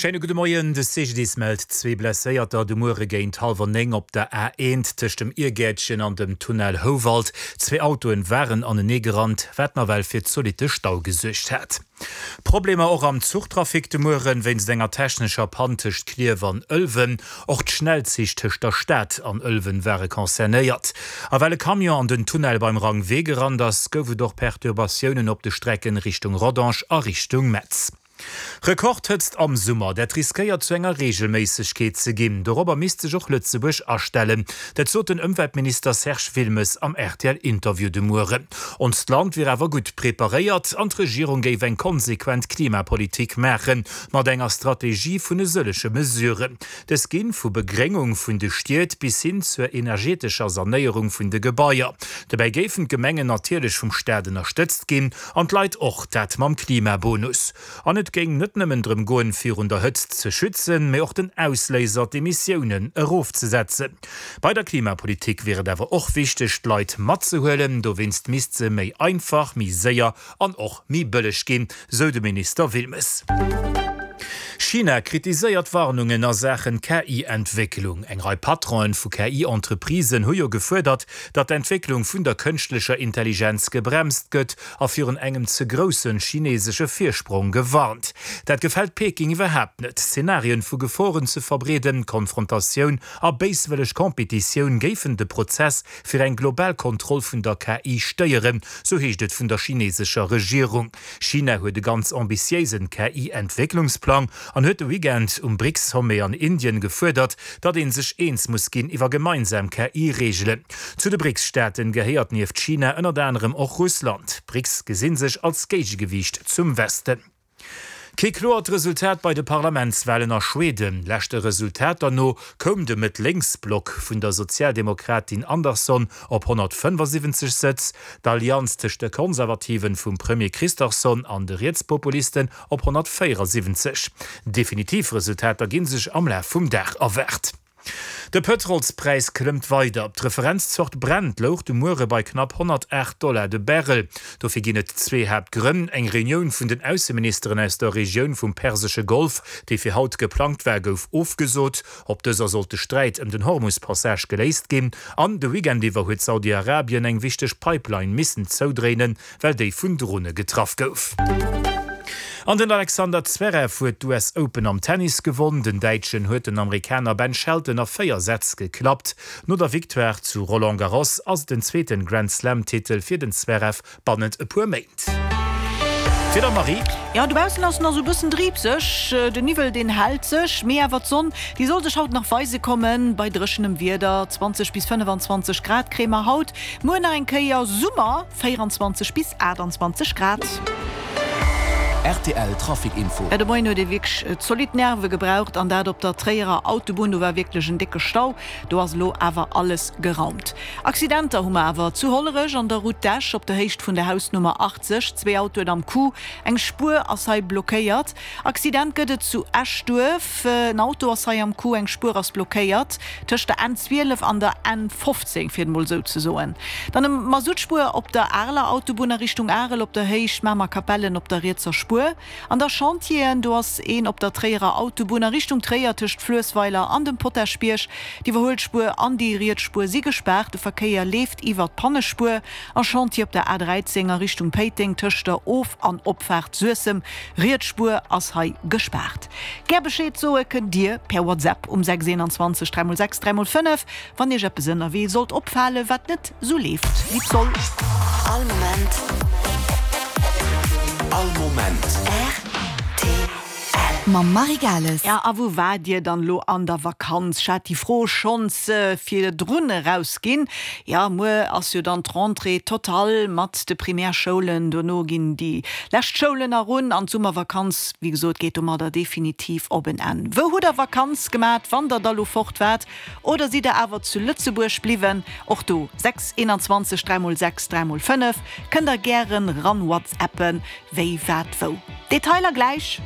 Schéine gudde Moien. De CGDIS mellt zwee Blesséierter de Muere géint hallwer 9 op der A1 tëscht dem Irgäertchen an dem Tunnel Houwald. Zwee Autoen waren anenee gerannt, wat nawell fir zolitte Stau gesuergt hat. Problemer och am Zuchtrafic de Mueren wéinst enger technescher Pann tëscht Klierf an Ëlwen. Och d'Schnellzich tëscht der Stad an Ëlwen ware concernéiert. A well e Camion an den Tunnel beim Rangwee gerannt ass, gouf et och Perturbatiounen op de Strecken Richtung Rodange a Richtung Metz. Rekordhëtzt am Summer, dat riskéiert zu enger Reegelméissegkeet ze ginn. Dorobber misst sech och Lëtzebuerg astellen. Dat sot den Ëmweltminister Serge Wilmes am RTL-Interview de Mueren. Onst Land wier awer gutt preparéiert an d'Regierung géif eng konsequent Klimapolitik maachen, mat enger Strategie vun e sëllege Mesuren. Dës ginn vu Begréngung vun de Stied bis hin zur energetescher Sanéierung vun de Gebaier. Dobäi géifen d'Gemengen natierlech vum Staat ënnerstëtzt ginn an d'Leit och, dat mam Klimabonus. An et géing net nëmmen drëm goen, virun der Hëtzt ze schützen, mee och den Ausléiser, d'Emissiounen, erofzesetzen. Bei der Klimapolitik wier et awer och wichteg, d'Leit matzehuelen. Dowéinst misst se méi einfach, méi séier an och méi bëlleg ginn, sou de Minister Wilmes. China kritiséiert Warnungen a Saachen KI-Entwécklung. Eng Rei Patronen vu KI-Entreprisen hu jo gefuerdert, datt d'Entwécklung vun der kënschtlecher Intelligenz gebremst gëtt a virun engem ze grousse chinesesche Virsprong gewarnt. Dat gefält Peking iwwerhaapt net. Szenarien vu Geforen ze verbreeden, Konfrontatioun a béiswëlleg Competitioun géifen de Prozess fir eng global Kontroll vun der KI stéieren, sou heescht et vun der chinesescher Regierung. China huet e ganz ambitiéisen KI-Entwécklungsplang an huet de Weekend um BRICS-Sommet an Indien gefuerdert, datt ee sech eens muss ginn iwwer gemeinsam KI-Reegelen. Zu de BRICS-Staaten gehéiert nieft China ënnert anerem och Russland. D'BRICS gesi sech als Géigegewiicht zum Westen. Kee kloert Resultat bei de Parlamentswalen a Schweden. Leschte Resultater no koum de Mëtt-Lénks-Block vun der Sozialdemokratin Andersson op 175 Sëtz, d'Allianz tëscht de Konservativen vum Premier Kristersson an de Rietspopulisten op 174. Definitiv Resultater gi sech am Laf vum Dag erwaart. De Pëtrolspräis klëmmt weider. D'Referenzzort Brent louch de Muere bei knapp 108 Dollar de Barrel. Dofir ginn et zwee Haaptgrënn, Eng Reunioun vun den Ausseministeren aus der Regioun vum Persesche Golf, déi fir haut geplangt war, gouf ofgesot. Op dëser sollt de Sträit ëm den Hormus-Passage geléist ginn. An de Weekend iwwer huet Saudi-Arabien eng wichteg Pipeline missen zoudréinen, well déi vun Drone getraff gouf. An den Alexander Zverev huet d'US Open am Tennis gewonn. Den Däitschen huet den Amerikaner Ben Shelton a 4 Sätz geklappt. No der Victoire zu Roland Garros ass et den zweeten Grand Slam Titel fir den Zverev bannent e puer Méint. Fir der Marie. Jo, dobaussen ass nach sou bëssen driibseg, den Niwwel deen hält sech, mee awer d'Sonn déi soll sech haut nach weise kommen. Bei dréchenem Wieder, 20 bis 25 Grad kréie mer haut, muer nach eng Kéier Summer. 24 bis 28 Grad. Rtl Trafic Info. De Moien huet ee wierklech zolidd Nerve gebraucht an dat op der Tréierer Autobunn. Do war wierklech en décke Stau. Do ass elo awer alles geraumt. Accidenter hu mer awer zu Hollerech an der Route d'Esch op der Héicht vun der Hausnummer 80. Zwee Autoen am Coup, eng Spuer ass hei blockéiert. Accident gëtt et zu Eschduerf. En Auto ass hei am Coup, eng Spuer ass blockéiert tëscht der N 12 an der N 15, fir et mol esou ze soen. Dann e Masuttspuer op der Areler Autobunn a Richtung Arel op der Héicht Mamer-Kapellen op der rietser Spuer. An da Chantieren, do ass een op der Tréierer Autobunn a Richtung Tréier tëscht Fluessweiler an dem Potaschbierg. D'Iwwerhuelspuer an déi riets Spuer si gespaart, de Verkéier leeft iwwer d'Pannespuer. A Chantier op der A 13 a Richtung Péiteng tëscht der Of an Opfaart Suessem. Riets Spuer ass hei gespaart. Gär Bescheed soe kënnt Dir per WhatsApp um 6 21 3 x 6 3 x 5, wann Iech eppes ënnerwee sollt opfale wat net sou leeft wéi et soll. All Moment. All Moment. Rtl. Mam Marie Gales. Ja, a wou waart Dir dann elo an der Vakanz? Ech hat déi Fro schonns virdrun erausginn. Ja, muer ass jo dann d'Rentrée totale mat de Primärschoulen. Dono ginn déi lescht Schoulen erun an d'Summervakanz, wéi gesot, geet domadder definitiv op en Enn. Wou hutt der Vakanz gemat, wann der da lo fort waart? Oder sidd der awer zu Lëtzebuerg bliwwen? Och do 6 21 3 x 6 3 x 5 kënnt der gären ran whatsappen. Wéi, wat, wou? Detailer gläich!